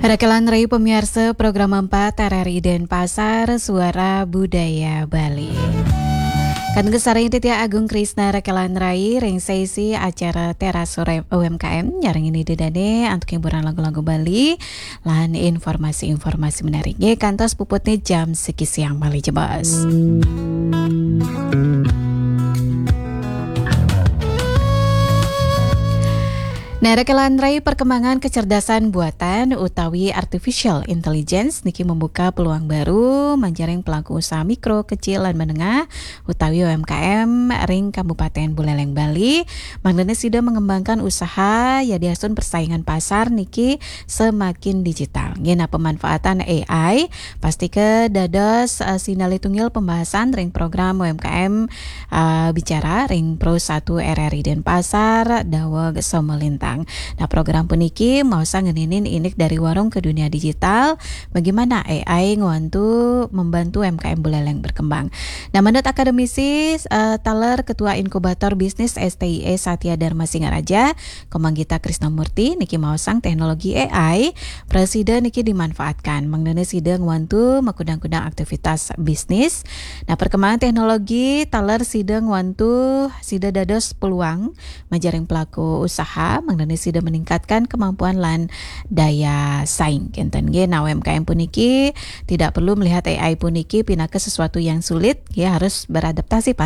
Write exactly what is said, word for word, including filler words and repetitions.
Rakelan Rai pamiarsa program empat R R I Denpasar, Suara Budaya Bali. Kang sareng Ditya Agung Krisna Rakelan Rai ring sesi acara Teras Sore U M K M, nyarengin ida dane antuk hiburan lagu-lagu Bali lan informasi-informasi menarik. Nggih, kantos puputne jam siki siang malih jebos. Nah, Rakelan Rai, perkembangan kecerdasan buatan utawi artificial intelligence niki membuka peluang baru manjaring pelaku usaha mikro, kecil, lan menengah utawi U M K M ring Kabupaten Buleleng, Bali. Mangdane sida mengembangkan usaha yadiastun persaingan pasar niki semakin digital. Nggih, nah, pemanfaatan A I pasti ke dados, eh, sinalih tunggil pembahasan ring program U M K M, eh, Bicara ring Pro satu R R I Denpasar daweg samalintang. Nah, program puniki maosang ngeninin indik dari warung ke dunia digital, bagaimana A I ngwantu membantu U M K M Buleleng berkembang. Nah, menurut akademisi, eh, taler Ketua Inkubator Bisnis S T I A Satya Dharma Singaraja, Komang Gita Krisnamurti niki maosang teknologi A I prasida niki dimanfaatkan mangdane sida ngwantu makudang-kudang aktivitas bisnis. Nah, perkembangan teknologi taler sida ngwantu sida dados peluang manjaring pelaku usaha mangdane sida meningkatkan kemampuan lan daya saing. Kenten nggih, nah, U M K M puniki tidak perlu melihat A I puniki pinaka sesuatu yang sulit, ya, harus beradaptasi pas